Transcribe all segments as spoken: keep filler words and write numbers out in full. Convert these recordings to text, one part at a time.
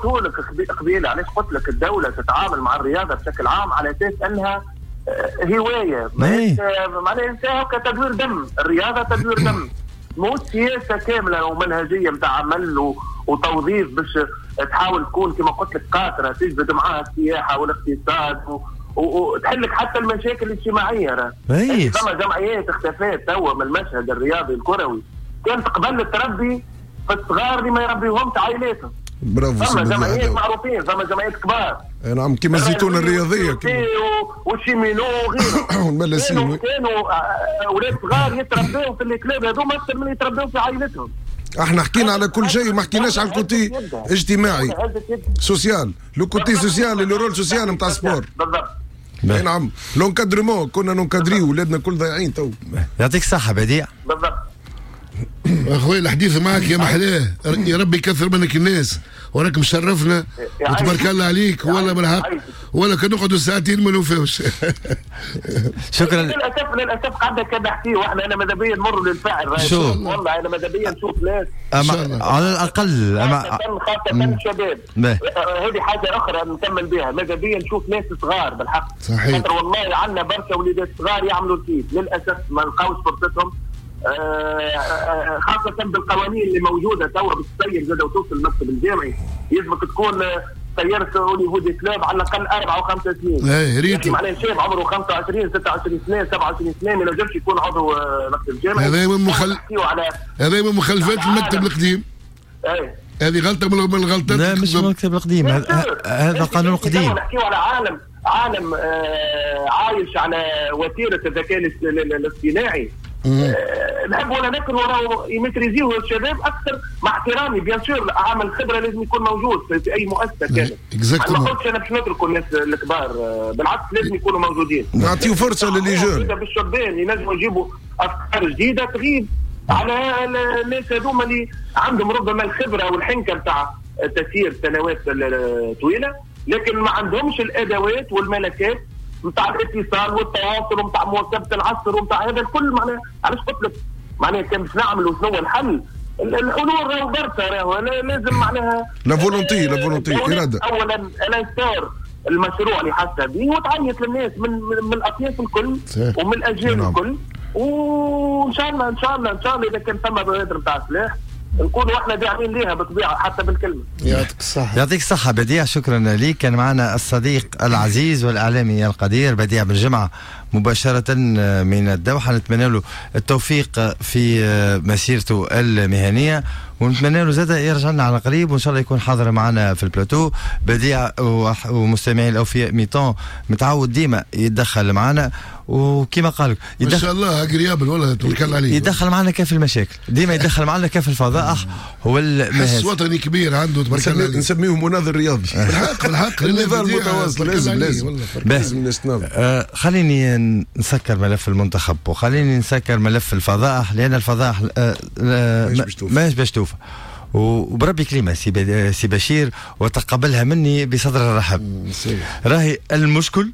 قلته لك قبيلة، علاش قلت لك الدولة تتعامل مع الرياضة بشكل عام على اساس انها آه، هواية، معناها هكا تدوير دم، الرياضة تدوير دم، مو سياسة كاملة ومنهجيه نتاع عمل وتوظيف باش تحاول تكون كما قلت لك قاطره تجبد معاها السياحة والاقتصاد وتحل لك حتى المشاكل الاجتماعية. راه فما جمعيات اختفت توا من المشهد الرياضي الكروي كانت قبل تربي في الصغار اللي ما يربيهمش عائلاتهم. برافو. فما جمعيات معروفين، فما جمعيات كبار. نعم، كيما الزيتون الرياضية. وال cheminots وغيره. والملاسين. كانوا كانوا اولاد صغار يتربوا في ال clubs هذوما اكثر من يتربوا في عائلتهم. احنا حكينا على كل شيء وما حكيناش على ال côté اجتماعي social، le côté social، le rôle social نتاع sport. بالضبط. نعم، l'encadrement، كنا ن encadrer ولادنا كل ضايعين تو. يعطيك الصحة بديع. بالضبط. اخوي، الحديث معك يا محلاه، يا ربي يكثر منك الناس، وراك مشرفنا وتبارك الله عليك، والله بالحق ولا كان نقعدوا ساعتين ما نوفاوش. شكرا. للاسف للاسف قعدنا كان نحكي واحنا انا ماذا بيا نمر للفعل. شو والله انا ماذا بيا نشوف ناس أما على الاقل أما خاصة شباب، هذه حاجة اخرى نكمل بها، ماذا بيا نشوف ناس صغار بالحق. صحيح. خاطر والله عندنا برشا وليدات صغار يعملوا الكيف، للاسف ما لقاوش فرصتهم، آه، خاصة بالقوانين اللي موجودة توا باش تسير زاد وتوصل المكتب الجامعي يلزمك تكون سيرت au niveau des clubs على الاقل اربع او خمس سنين. ايه ريت. معناها شاب عمره خمسة وعشرين ستة وعشرين سنة، سبعة وعشرين سنة، ما ينجمش يكون عضو آه، مكتب جامعي. هذا من مخل... هذا من مخلفات المكتب القديم. ايه. هذه غلطة من الغلطات. لا، مش المكتب القديم، هذا قانون قديم. نحكيو على عالم عالم آه عايش على وتيرة الذكاء الاصطناعي، آه، نحب ولا نكره راهو ي maîtriser وه الشباب اكثر، مع احترامي bien sûr، عامل خبره لازم يكون موجود في اي مؤسسة كانت. exactement. ما قلتش انا باش نتركوا الناس الكبار، آه، بالعكس لازم يكونوا موجودين. نعطيو فرصة ل les jeunes. بالشبان ينجموا يجيبوا افكار جديدة تغيب على الناس هذوما اللي عندهم ربما الخبرة والحنكه نتاع تسيير سنوات طويله، لكن ما عندهمش الادوات والملكات نتاع الاتصال والتواصل ونتاع مواكبة العصر ونتاع هذا الكل. معناها علاش قلت لك معناها كان باش نعملوا شنو الحل؟ الحلول راهو برشا، راهو لازم معناها la volonté، la volonté، اراده. اولا l'instaurer المشروع اللي حاسه به وتعيط للناس من من, من الاطياف الكل ومن الاجيال نعم. الكل، وان شاء الله ان شاء الله ان شاء الله اذا كان ثم بوادر نتاع سلاح نكونوا احنا داعمين ليها بالطبيعة حتى بالكلمه. يعطيك الصحه. يعطيك الصحة بديع، شكرا لك. كان معنا الصديق العزيز والاعلامي القدير بديع بالجمعة مباشرة من الدوحه. نتمنى له التوفيق في مسيرته المهنية ونتمنى له زاد يرجع لنا على قريب، وان شاء الله يكون حاضر معنا في البلاتو. بديع ومستمعين الاوفياء mi-temps متعود ديما يتدخل معنا، وكما قال يدخل ما شاء الله agréable، والله تبارك الله عليه. يدخل معنا كيف المشاكل، ديما يدخل معنا كيف الفضائح هو. حس وطني كبير عنده، تبارك الله. نسميه مناضل رياضي. بالحق بالحق. النضال المتواصل، لازم لازم لازم نستناضل. آه خليني نسكر ملف المنتخب وخليني نسكر ملف الفضائح، لان الفضائح آه ماهيش باش توفى. وبربي كلمة سي سي بشير وتقبلها مني بصدر رحب، راهي المشكل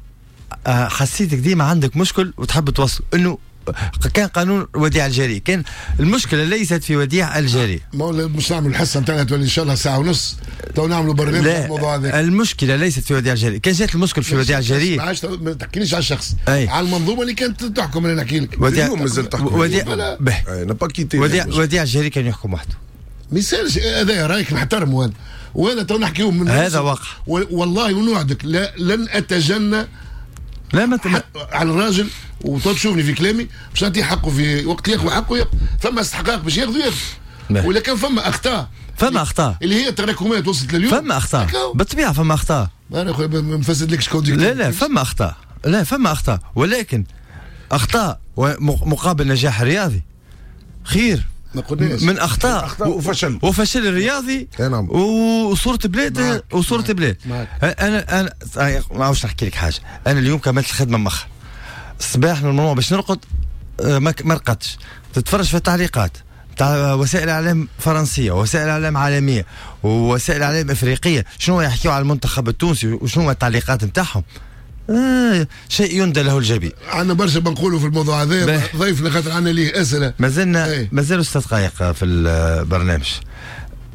آه، حسيتك ديما عندك مشكل وتحب توصل انه كان قانون وديع الجري، كان المشكلة ليست في وديع الجري. ما مش نعمل الحصة نتاعنا تولي ان شاء الله ساعة ونص، تو نعملوا برنامج. لا، الموضوع هذا المشكلة ليست في وديع الجري، كان جات المشكل في وديع الجري. ما عادش ما تحكيليش على الشخص، أي. على المنظومة اللي كانت تحكم انا نحكي لك. وديع اليوم مازال تحكم. وديع n'a pas quitté. وديع وديع الجري كان يحكم وحده. ما يسالش، هذا رايك نحترمه هذا، وانا تو نحكيو من هذا واقع. والله ونوعدك لا لن اتجنى لا ما على الراجل، وتشوفني في كلامي باش نعطيه حقه في وقت ياخذ حقه ياخذ. ثم استحقاق باش ياخذ ياخذ، ولا كان فما اخطاء. فما اخطاء. اللي هي تراكمات وصلت لليوم. فما اخطاء بالطبيعه، فما اخطاء. انا خويا ما نفسدلكش. لا لا، فما اخطاء، لا فما اخطاء، ولكن اخطاء مقابل نجاح رياضي خير ما قلناش. من اخطاء اخطاء وفشل. وفشل الرياضي. نعم. وصوره بلاد وصوره بلاد. انا انا ما عاوش نحكي لك حاجه، انا اليوم كملت الخدمة مخر الصباح، normalement باش نرقد، آه، ما رقدتش. تتفرج في التعليقات تاع وسائل اعلام فرنسية ووسائل اعلام عالمية ووسائل اعلام افريقيه، شنو يحكيوا على المنتخب التونسي وشنو التعليقات نتاعهم، آه شيء يندى له الجبين. عندنا برشا بنقولوا في الموضوع هذا، ضيفنا خاطر عندنا ليه اسئله. مازلنا مازالوا ست دقائق في البرنامج.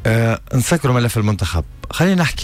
آه نسكروا ملف المنتخب، خلينا نحكي.